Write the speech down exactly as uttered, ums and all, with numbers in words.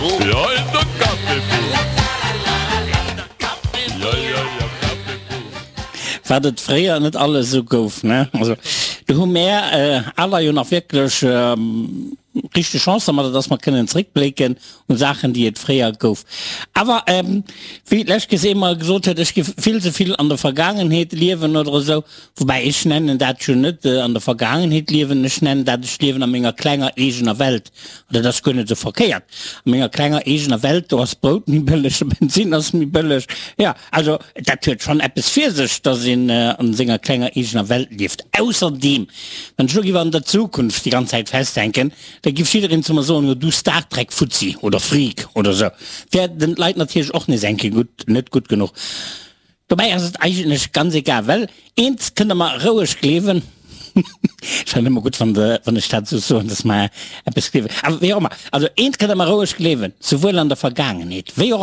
Ja, in der Kaffeeboot. Ja, ja, ja, Kaffeeboot. Wat et fréier net alles sou gouf, ne? Also do hu mär äh, aller jo nach wierklech ähm, richteg Chance dermat, dass mer kënnen zréckblécken un Saachen, déi et fréier gouf. Awer ähm, wéi d'lescht Kéiers ee mol gesot huet, ech géif vill ze vill an der Vergaangenheet liewen oder esou, woubäi ech nennen dat jo net äh, an der Vergaangenheet liewen, ech nennen dat, ech liewen a menger klenger eegener Welt. An dat ass guer net sou verkéiert. A menger klenger eegener Welt, do ass Brout méi bëlleg, de Bensinn ass méi bëlleg. Ja, also dat huet schonn eppes fir sech, dass een äh, an senger klenger eegener Welt lieft. Ausserdeem, wann ech lo géif an der Zukunft déi ganz Zäit festhänken, da géif jiddereen zu mer soen, jo du Star Trek Fuzzi oder Freak oder sou. Wär den Leit natierlech och nees eng Kéier gutt, net gutt genuch. Dobäi ass et eigentlech ganz egal, well eent kënnt der mer roueg gleewen, ech fannen ëmmer gutt, wann de, wann ech dat sou soen, dass mer eppes gleewen, awer wéi och ëmmer, also eent kënnt der mer roueg gleewen, souwuel an der Vergaangenheet wéi och